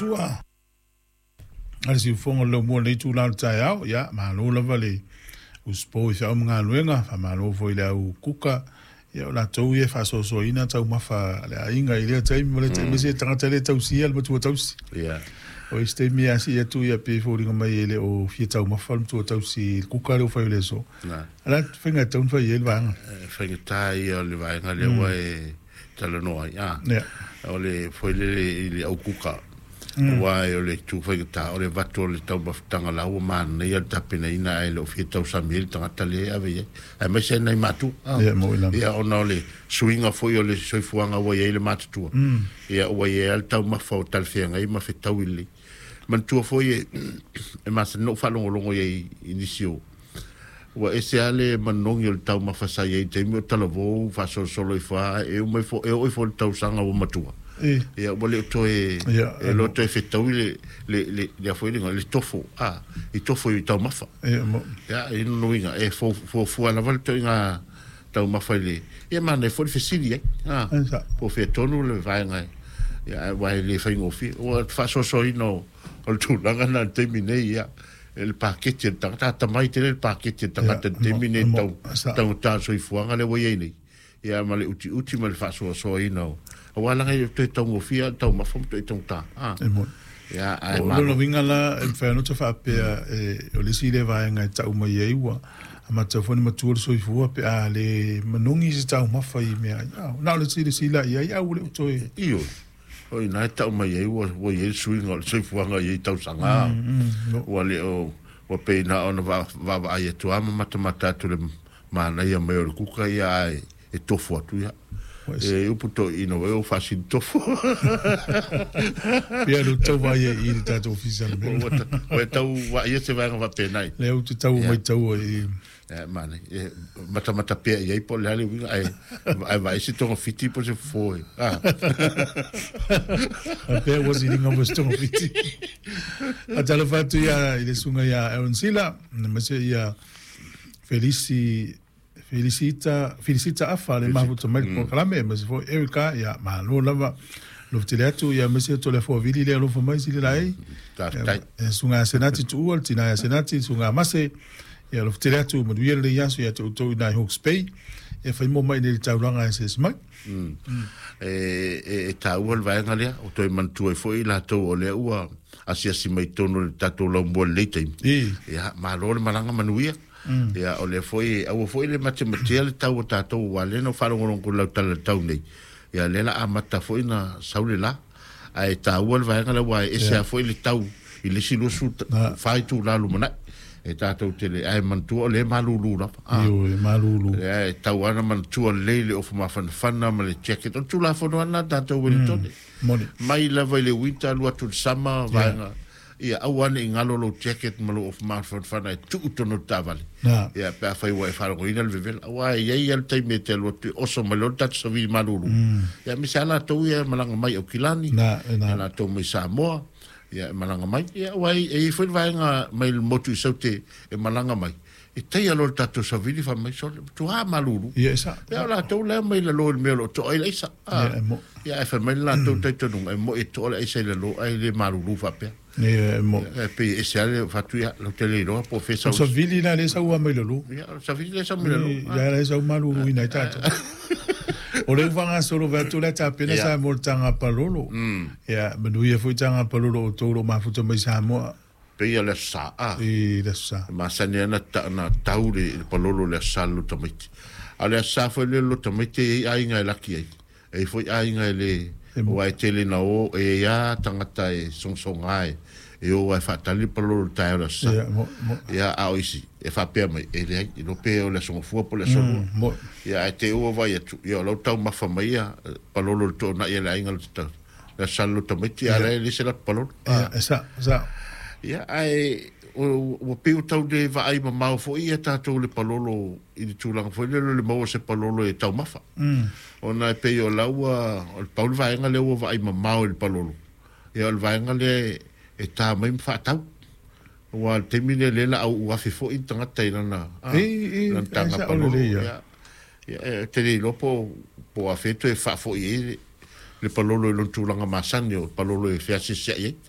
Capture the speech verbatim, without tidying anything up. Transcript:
matua a le siufofoga o le laumua i lenei itula o le taeao. Ia, malo lava le usupo i feau ma galuega, faamalo foi i le au kuka, ia o latou ia e faasoasoaina taumafa a le aiga i lea taimi ma lea taimi, aemaise tagata le tausia le matua tausi. Ia. O isi taimi a sii atu ia pei e foliga mai e le o fia taumafa le matua tausi i le kuka lea ua fai o le aso. Na. A o le a faiga e tatau ona fai ai le vaega? E faigata ia o le vaega lea ua e talanoa ai. A. Ia. O le foi lele i le au kuka. Aua o le itu faigata o le avatu o le taumafataga la ua manaia le tapenaina ae le o fia tausami ai le tagata lea e ave i ai. Aemaise ai nai matua. Ia, mo i lama. Ia, ona o le suiga foi o le soifuaga ua i ai le matutua. Ia, ua i ai lava le taumafa o talafeagai ma fetaui lelei. Manatua foi e, e masani ona ou faalogologo i ai i nisi o ua ese lava le manogi o le taumafa sa i ai i le taimi o talavou faasolosolo ifo lava e uma ifo e oo ifo i le tausaga ua matua. Ia ua le o toe e le o toe fetaui le le le le foi le le tofo a i tofo i taumafa. Ia i lona uiga e fuafua lava le ituaiga taumafa i le ia manaia foi le fesili ai a po o fea tonu le vaega ia aua e le faigofie ua faasoasoaina o le tulaga lena i le taimi nei ia e le paketi a le tagata atamai tele le paketi a le tagata i le taimi nei tau taugata le soifuaga lea ua i ai nei ia ma le utiuti ma le faasoasoaina o aua leaga e le toe taugofie le taumafa ma toe taugata a ia ae O lona uiga la e mafai ona ota faapea o le isi lea vaega e tau mai ai ua amata foi ona matua le soifua pe a le manogi se taumafa i mea ai. Na o le silasila i ai ae ua le o toe. Ioe. O i ina e tau mai ai ua ua i ai le suiga o le soifuaga i ai tausaga. Ua le o ua pei na ona vaavaai atu lava ma matamata atu i le manaia mai o le kuka ia ae e tofu atu ia. E upu toeaina ua e faasili tofu. Pei lea tau vaai ai i le tatou ofisa le mea. Ua tau vaaia se vaega faapena. Lea ou te tau maitau ai. E manaia. E matamata pea i ai po o le a le uiga ae ae vaai se togafiti po o se fofo e. Faapea ua siliga mo se togafiti. Faatalofa atu ia i le susuga ia Aaron Sila, aemaise ia Felisi Felicita Felicita Afa le mafuta mai le polokalame, aemaise foi Erica, ia malo lava alofa atu, ia aemaise o le afoavili lea alofa mai sili lai. E susuga ia Senati Tuua, le tina ia Senati, le susuga Mase, ia alofa tele atu, manuia lenei aso ia te outou i nai Hawke's Bay. Ia fai mo mai nei le taulaga e se mai. Mm. E, e, e taua le vaega lea, o toe manatua ai foi i latou o lea ua asiasi mai totonu o le tatou laumua i lenei taimi. Ia, malo le malaga manuia. Mm. Ia, o lea foi, aua foi le matematea le tau o tatou, aua lea na ou faalogologo i lau tala i le tau nei. Ia, lea la amata foi na sau le la. Ae taua le vaega lea, aua e ese lava foi le tau i le isi luasefulu fa itula lumanai. E tatou te le, ae manatua o lea e malulu lava. Ah. Ioe, malulu. Lea e tau lava na manatua lelei le ofu mafanafana ma le jacket. O le Tulafono lava lena tatou Ueletone. Mm, moni. Mai lava i le winter alu atu i le summer, vaega. Ia, aua ne i galo lou jacket ma lou ofu mafanafana e tuu i totonu o le taavale. Ia, pe afai ua e faalogoina le vevela. Aua e i ai lava le taimi e te alu atu e oso mai loa le tatou savili malulu. Ia, aemaise lava latou ia e malaga mai Aukilani, ia latou mai Samoa. Ia e malaga mai. Ia aua e i ai foi le vaega mai le motu i Saute e malaga mai. E taia loa le tatou savili fai mai sole, matua malulu. Ia e sa. Ia o latou la e omai i lalo i le mea o lo o toa ai le aisa. Ia e mo. Ia ae fai mai le latou talitonuga e moi e toa le aisa i lalo ae le malulu faapea. Ia e mo. Ia e pei e ese lava le fatu ia lau te le iloa po o fea sau. O savili la lea e sau lava mai lalo. Ia o le savili lea e sau mai lalo. Ia la e sau maluluina ai tatou. O lea ua faagasolo fai atu o le a tapena Samoa i le taga palolo. Ia, manuia foi taga palolo o outou o lo o mafuta mai Samoa. Pei o le Aso Sa, a. I le Aso Sa. E masani lava ona tau le palolo i le Aso Sa i le loto tamaiti. A o le Aso Sa foi lea i le loto tamaiti e i ai aiga e laki ai. E i ai foi aiga e le, aua e tele ina o, e i ai lava tagata e sogasoga e e o lava e faatali le palolo i le taeao o le Aso Sa. Ia, mo, mo. Ia, a o isi, e faapea mai, e leai, iloa pe o le Aso Gafua po o le Aso Lua. Mm, mo. Ia, ae te i ua vaai atu, ia o la ua taumafa mai ia palolo i le toonai a le aiga le Aso Sa i le loto tamaiti, a o la e leai se latou palolo. Ia, e sa, sa. Ia, ae ua pei ua tau le vaai mamao foi ia tatou i le palolo i le tulaga foi lea o le maua o se palolo e taumafa. Mm. Ona e pei o la ua, o le pau le vaega lea ua vaai mamao i le palolo. Ia o le vaega lea e ta mai ma faatau. Aua o le taimi lea, lea la au afe foi le tagata i lana, lana taga palolo. Ia, ia, e te le iloa po, po o afea toe faafoi ai le, le palolo i lona tulaga masani o le palolo e feasiasiai ai.